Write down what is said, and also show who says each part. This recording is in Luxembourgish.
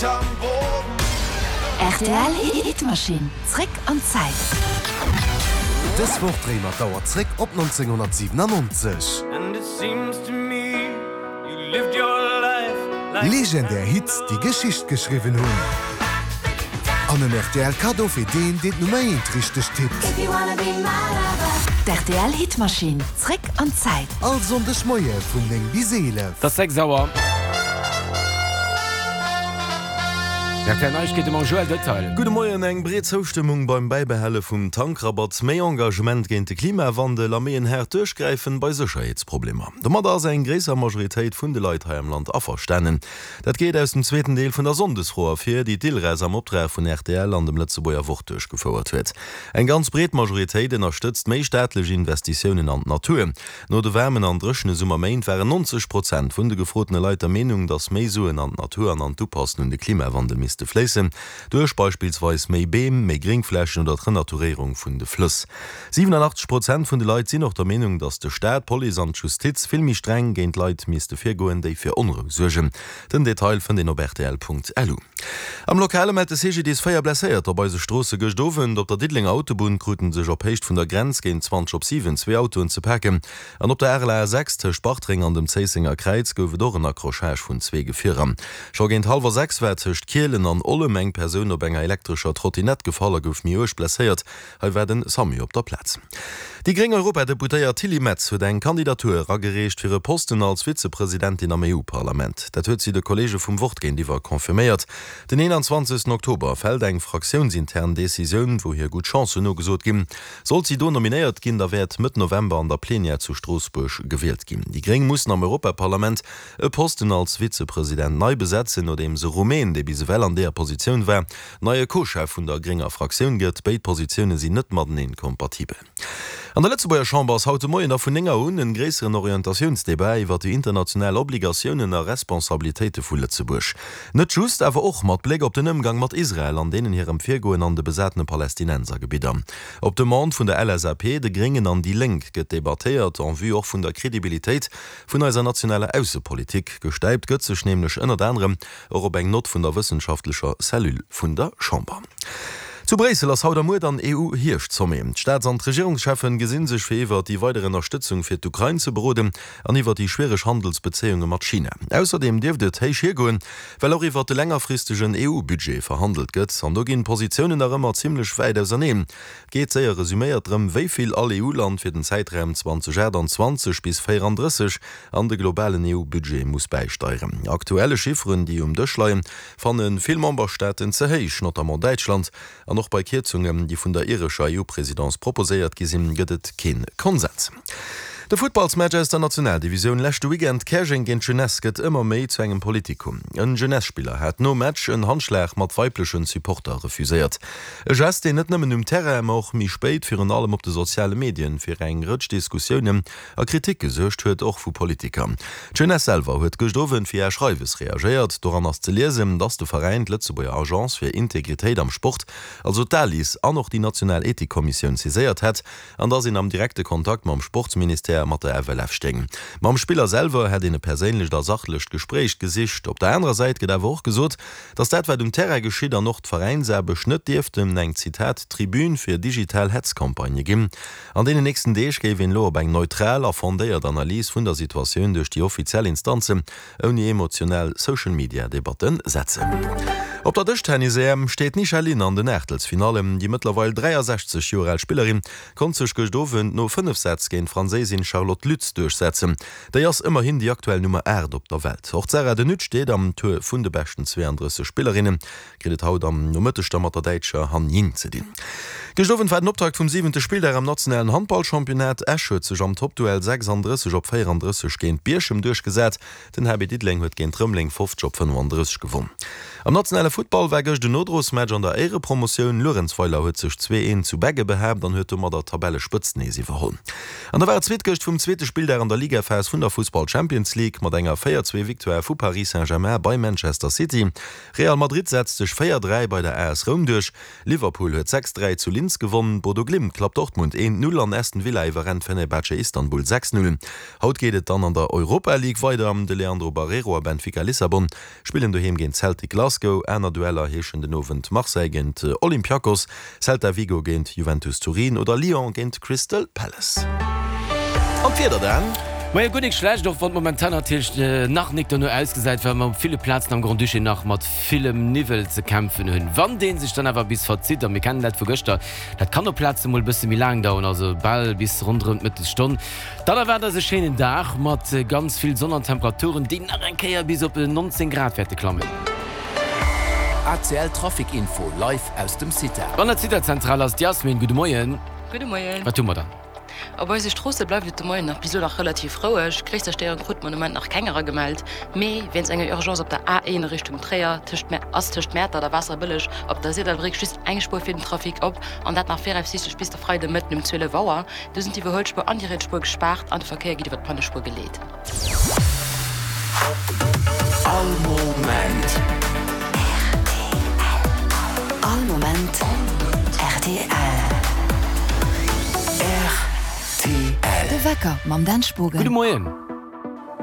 Speaker 1: Rtl Hitmachine, zréck an d'Zäit.
Speaker 2: Dës Woch dréie mer d'Auer zréck op 1997. Legendär Hits, déi Geschicht geschriwwen hunn. An en rtl Kaddo fir deen, deen d'Nummer eent richteg tippt.
Speaker 1: D'RTL Hitmachine, zréck an d'Zäit.
Speaker 2: All Sonndeg Moie vun 9 bis 11.
Speaker 3: Et ass 6 Auer. Rtl Neiegkeete mam Joël Detail.
Speaker 4: Gudde Moien, Eng breet Zoustëmmung beim Bäibehale vum Tankrabatt, méi Engagement géint de Klimawandel a méi en haart Duerchgräifen bei Sécherheetsproblemer. Domadder ass eng gréisser Majoritéit vun de Leit hei am Land averstanen. Dat geet aus dem zweeten Deel vun der Sonndesfro ervir, déi d'ILRES am Optrag vun rtl an dem Lëtzebuerger Wort duerchgefouert huet. Eng ganz breet Majoritéit ënnerstëtzt méi staatlech Investitiounen an d'Natur. No de waarmen an dréchene Summerméint waren 90 Prozent vun de gefrotene Leit der Meenung, datt méi Suen an d'Natur an an d'Upassen un de Klimawandel misste fléissen, duerch beispillsweis méi Beem, méi Gréngflächen oder d'Renaturéierung vun de Flëss. 87 Prozent vun de Leit sinn och der Meenung, datt de Staat, d'Police an d'Justiz vill méi streng géint Leit misste virgoen, déi fir Onrou suergen. Den Detail fënnt een op rtl.lu. Am Lokale mellt de CGDIS 4 Blesséierter op eise Stroosse gëscht Owend. Op der Diddelenger Autobunn krute sech op Héicht vun der Grenz géint 20 op 7 zwee Autoen ze paken. An op der Areler A6 tëscht Bartreng an dem Zéissenger Kräiz gouf et och en Accrochage vun zwee Gefierer. Scho géint hallwer 6 war tëscht Kielen an Ollem eng Persoun op enger elektrescher Trottinett gefall a gouf méi uerg blesséiert. Hei war den Samu op der Plaz. Déi gréng Europadeputéiert Tilly Metz huet eng Kandidatur eragereecht fir e Posten als Vizepresidentin am EU-Parlament. Dat huet si de Kolleege vum Wort géintiwwer confirméiert. Den 21 Oktober fält eng fraktiounsintern Decisioun, wou hir gutt Chancen nogesot ginn. Sollt si do nominéiert ginn, da wäert Mëtt November an der Plenière zu Stroossbuerg gewielt ginn. Déi gréng mussen am Europaparlament e Posten als Vizepresident nei besetzen, nodeems e Rumän, dee bis ewell an deeër Positioun war, Neie Co-Chef vun der grénger Fraktioun gëtt. Béid Positioune sinn net mateneen kompatibel. An der Lëtzebuerger Chamber ass haut de Moien da vun 9 Auer un en gréisseren Orientatiounsdebat iwwer déi international Obligatiounen a Responsabilitéite vu Lëtzebuerg. Net just, awer och mat Bléck op den Ëmgang mat Israel an deenen hirem Virgoen an de besatene Palästinensergebidder. Op Demande vun der LSAP, de Gréngen an déi Lénk gëtt debattéiert, en vue och vun der Kredibilitéit vun eiser nationaler Aussepolitik. Gestäipt gëtt sech nämlech ënnert anerem Och op eng Nott vun der wëssenschaftlecher Cellule vun der Chamber. Zu Bréissel ass haut a muer dann EU-Hierscht-Sommet. D'Staats an d'Regierungscheffen gesinn sech fir iwwer déi weider Ënnerstëtzung fir d'Ukrain ze beroden an iwwer déi schwiereg Handelsbezéiunge mat China. Ausserdeem dierft et héich hiergoen, well och iwwer de längerfristegen EU-Budget verhandelt gëtt. An do ginn d'Positiounen nach ëmmer zimmlech wäit auserneen. Et geet, séier resuméiert, drëm, wéi vill all EU-Land fir den Zäitraum 2028 bis 34 an de globalen EU-Budget muss bäisteieren. Aktuelle Chifferen, déi um Dësch leien, fanne vill Memberstaaten ze héich, notamment Däitschland. An och bei Kierzungen, déi vun der irescher EU-Presidence proposéiert gi sinn, gëtt et kee Konsens. De Futtballsmatch aus der Nationaldivisioun leschte Weekend, Käerjeng géint Jeunesse, gëtt ëmmer méi zu engem Politikum. En Jeunesse-Spiller hat nom Match en Handschlag mat weiblechen Supporter refuséiert. E Gest, deen net nëmmen um Terrain, ma och méi spéit virun allem op de soziale Medien fir eng Rëtsch Diskussiounen a Kritik gesuergt huet, och vu Politiker. D'Jeunesse selwer huet gëscht Owend via Schreiwes reagéiert. Doran ass ze liesen, datt de Veräin d'Lëtzebuerger Agence fir Integritéit am Sport, also d'ALIS, an och déi national Ethikkommissioun saiséiert hätt an datt een am direkte Kontakt mam Sportsministère a mat der FLF stéing. Mam Spiller selwer hätt een e perséinlecht a sachlecht Gespréich gesicht. Op der anerer Säit gëtt awer och gesot, datt dat wat um Terrain geschitt an och d'Veräinsaarbecht net dierften eng, Zitat, Tribün fir digital Hetzcampagnë ginn. An deenen nächsten Deeg géif een elo op eng neutral a fondéiert Analys vun der Situatioun duerch déi offiziell Instanzen, ouni emotional Social-Media-Debatte setzen. Op der Dëschtennis-EM steet d'Nisha Lin an den Aachtelsfinallen. Déi mëttlerweil 63 Joer al Spillerin konnt sech gëscht Owend no 5 Sätz géint d'Franséisin Charlotte Lutz duerchsetzen. Déi ass ëmmerhin déi aktuell Nummer 8 op der Welt. Och d'Sarah De Nutte steet am Tour vun de beschten 32 Spillerinnen. Kritt et haut am Nomëtteg da mat der däitscher Han Ying ze dinn. Gëscht Owend war den Optakt vum siwente Spilldag am nationalen Handballchampionnat. Esch huet sech am Toppduell 36 op 34 géint Bierchem duerchgesat. Den HB Diddeleng huet géint Rëmeleng 50 op 35 gewonn. Am nationale Futtball war gëscht en Nodrosmatch an der Éierepromotioun. Luerenzweiler huet sech 2, 1 zu Begge behaapt an huet domadder d'Tabellespëtzt nees iwwerholl. An da war et zweet gëscht vum zweete Spilldag an der Ligaphas vun der Fussball Champions League mat enger 4, 2 Victoire vu Paris Saint-Germain bei Manchester City. Real Madrid setzt sech 4, 3 bei der AS Roum duerch, Liverpool huet 6, 3 zu Linz gewonn, Bodo Glimt klappt Dortmund 1, 0 an Aston Villa iwwerrennt Fenerbahce Istanbul 6, 0. Haut geet et dann an der Europa League weider, de Leandro Barreiro a Benfica Lissabon spillen doheem géint Celtic Glasgow. Glasgow. Aner Dueller heeschen den Owend Marseille géint Olympiakos, Celta Vigo géint Juventus Turin oder Lyon géint Crystal Palace. An d'Wieder dann?
Speaker 3: Majo, guer nik schlecht, och wann et momentan natierlech nach nik dono ausgesäit, well mer op ville Plazen am Grand-Duché nach mat villem Niwwel ze kämpfen hunn. Wann dee sech dann awer bis verzitt, a mir kennen dat vu gëschter, dat kann op Plaze mol e bësse méi laang daueren, also bal bis ronderëm d'Mëttesstonn, dann erwaart eis e schéinen Dag mat ganz vill Sonn an Temperaturen, déi nach eng Kéier bis op 19 Grad wäerte klammen.
Speaker 5: ACL Trafic Info live aus dem CITA.
Speaker 3: An der CITA-Zentral ass d'Yasmin. Gudde Moien.
Speaker 6: Gudde Moien.
Speaker 3: Wat hu mer dann?
Speaker 6: Op eise Stroosse bleift et de Moien nach bis elo nach relativ roueg. Gréisser Stéierung krute mer de Moment nach keng eragemellt. Mee wéinst enger Urgence op der A1 a Richtung Tréier tëscht ass tëscht Mäertert a Waasserbëlleg op der Sirdallbréck just eng Spuer fir den Trafic op an dat nach viraussiichtlech bis de Freide Mëtten um 12 Auer. Do sinn d'Iwwerhuelspuer an déi riets Spuer gespaart an de Verkéier geet iwwer d'Pannespuer geleet.
Speaker 5: All Moment.
Speaker 1: All Moment rtl.
Speaker 5: Rtl.
Speaker 1: De Wecker mam Dan Spogen.
Speaker 3: Gudde Moien.